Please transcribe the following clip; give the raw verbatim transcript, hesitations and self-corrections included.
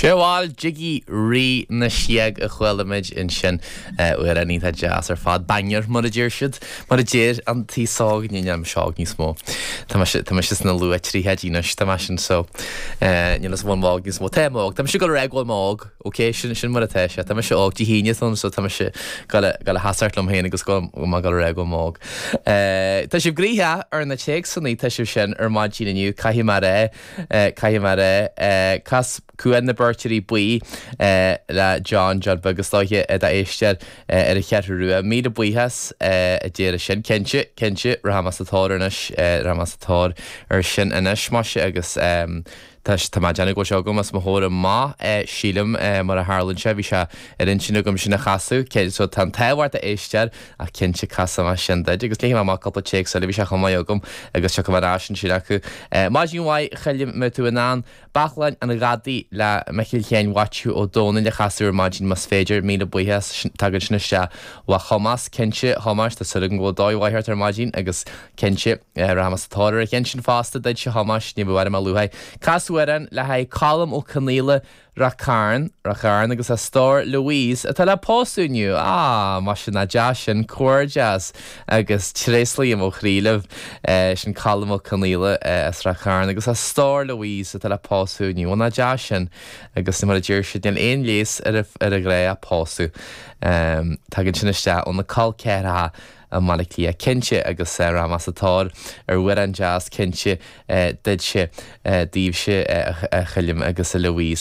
Siúil Jiggy Rí na Sióg a chuala muid ansin amhrán iontach deas ar fad banger mar a deir siad mar a deir an t-óg ní seog níos mó. Tá tá mise sna luath-tríochaidí anois tá sin so níl is bhóg níos mó tá óg Tá sé go réhfuil óg Ok sin sin mar atá sé Tá sé óg tí híine so tá sé go le hasart liom féin agus go má go réhfuil óg. Tá sibh gnoitheach ar na téacsanna tá sibh sin ar maidin inniu caithfidh mé rá caithfidh mé rá cas Cuan na bhFeirtéirí Buí le John John begus dóiche a éisteoir ar an Cheathrú Rua. Míle buíochas a deir sin cinnte cinnte rachaidh mé sa tóir anois rachaidh mé sa tóir ar sin anois mar sin agus Tá tá má déna go agam as mo thóir má sílim mar a tharlaíonn sé bhí sé ar intinn agam sin a chasadh so tá táhart a éistear a cinnte casfaidh mé sin duit agus léifidh mé cúpla téacs eile bhí sé chomh maith agam agus seo mar sin sin acu. Maidin mhaith Choilm mbeidh tú in ann Baclainn an Ghadaí le Micil Chéin Mhaitiú Ó Dónaill a chasadh ar maidin más féidir míle buíochas tagann sin isteach ó Thomas cinnte Thomas tá súil agam go bhfuil dóigh mhaith ar maidin agus cinnte rachaidh mé sa tóir ar cheann sin fosta duit Thomas ní bhfuair mé luath. Cas amhrán le haghaidh Colm Ó Conaola Ráth Cairn Ráth Chairn agus a stór Louise atá le pósadh inniu á mar sin ná deas sin comhghairdeas agus tréaslaím ó chroí libh sin Colm Ó Conaola as Ráth Cairn agus a stór Louise atá le pósadh inniu ná deas sin agus mar a deir siad níl aon leigheas ar ar a ghrá pósadh. Um, tagann sin isteach ó na col ceathracha i mBaile Átha Cliath cinnte agus rachaidh mé sa tóir ar amhrán deas cinnte duitse daoibhse a Choilm agus a Louise.